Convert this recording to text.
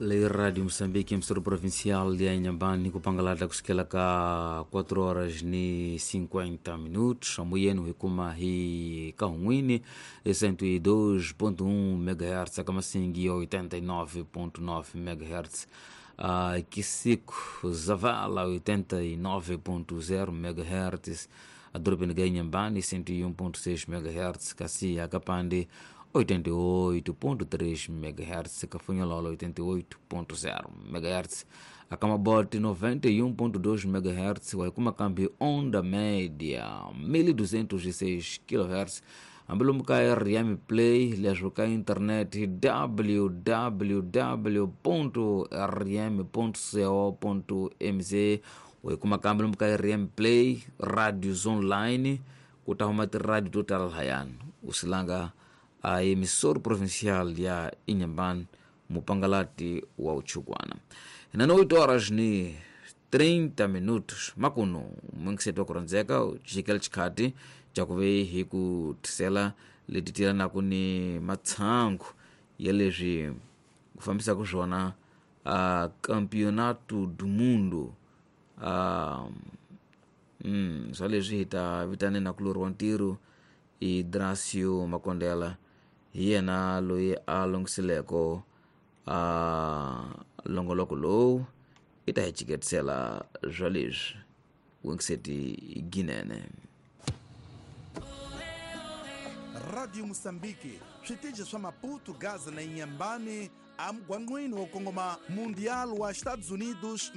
Lei Rádio Moçambique, emissora provincial de Inhambane, kupangalata kusukela ka 4 horas ni 50 minutos, amuyenu hikuma hi kahunwini 102.1 MHz, akamasingi 89.9 MHz, Kisiku Zavala 89.0 MHz, a Inhambane 101.6 MHz, Kassi Akapande 88.3 MHz, Cafunhololo 88.0 MHz, Acamabote 91.2 MHz, Waikumakambi Onda Média 1206 kHz, Ambelumuka RM Play, leswo internet www.rm.co.mz, Waikumakambi lumka RM Play, radios online, kutahuma tiradio to tala lahayani usilanga a emissora provincial ya Inhambane, mupangalati wa uchukwana. Nano 8 horas ni 30 minutos makuno mwingisetu wakurondzeka chikela chikhati chakuve hi ku thisela leti tielanaku ni matshangu ya leswi ku fambisaka swona campeonato do mundo, swa leswi hi ta vitane kulori wa ntirho i Dracio Makondela, hi yena loyi a longhisileko longoloko lowu i ta hi ciketisela swa leswi wingiseti ginene. Radio Moçambique, switichi swa Maputo, Gaza na Inhambane, amugwangqwini wo kongoma Mundial wa Estados Unidos.